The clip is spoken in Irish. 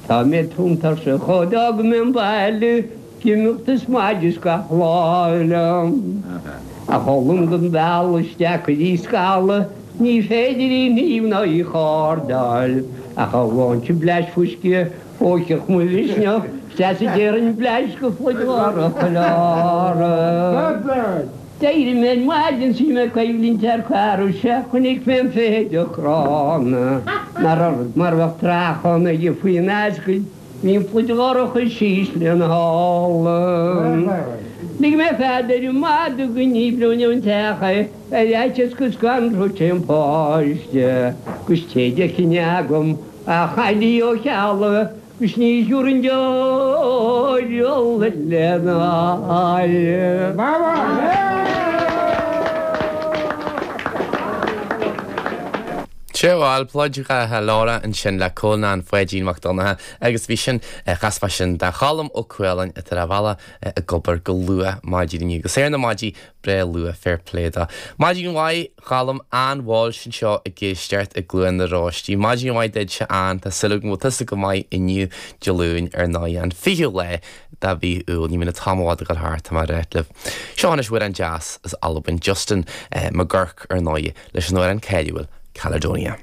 Tá mé tumtha arsa ó d'fhág mé an baile ag imeacht is maide is gach lá liom. A Choilm don bhealach isteach go dtí Scalla ní féidir í shníomh ná í chardáil ach amháin sa bleaist fuisce thóigfeadh mo mhisneach 'steach is déarfainn bleaist go phluid dhorcha Lára. D'éirigh mé ar maidin 's bhí mé ag coimhlint ar cara 'sea chonaic mé an feithideach gránna nár ard mar bheadh treachán aige faoin ascaill bhí an phluid dhorcha is ísle ina shála. Lig mé fead ar an madadh go ndíbreoinn ón teach é ar fhaitíos go scanródh sé an páiste 'gus téide chinneadh agam a chailleadh ó chealla 'Gus ní thiúrfainn deoir fhola lena aghaidh. Sea bhuel, Pluid Dhorcha Lora ansin le Colmán Pháidín Mac Donncha agus bhí sin, chas mé sin do Cholm Ó Cualáin atá ar a bhealach ag obair go luath maidin inniu agus ar na maidí breá luath, fair play dó. Maidin mhaith. Cholm, Ann Walsh anseo ag éisteacht i gCluain na Róistí. Maidin mhaith duitse Ann, tá súil agam go bhfuil tusa go maith inniu, Dé Luain, ar ndóigh, an 20ú lá de mhí Iúil. Ní bhíonn an t-am i bhfad ag dul thart, tá mé ag ráit libh. Seo anois amhrán deas as Albain, Justin McGuirk, ar ndóigh, leis an amhrán cáiliúil, Caledonia.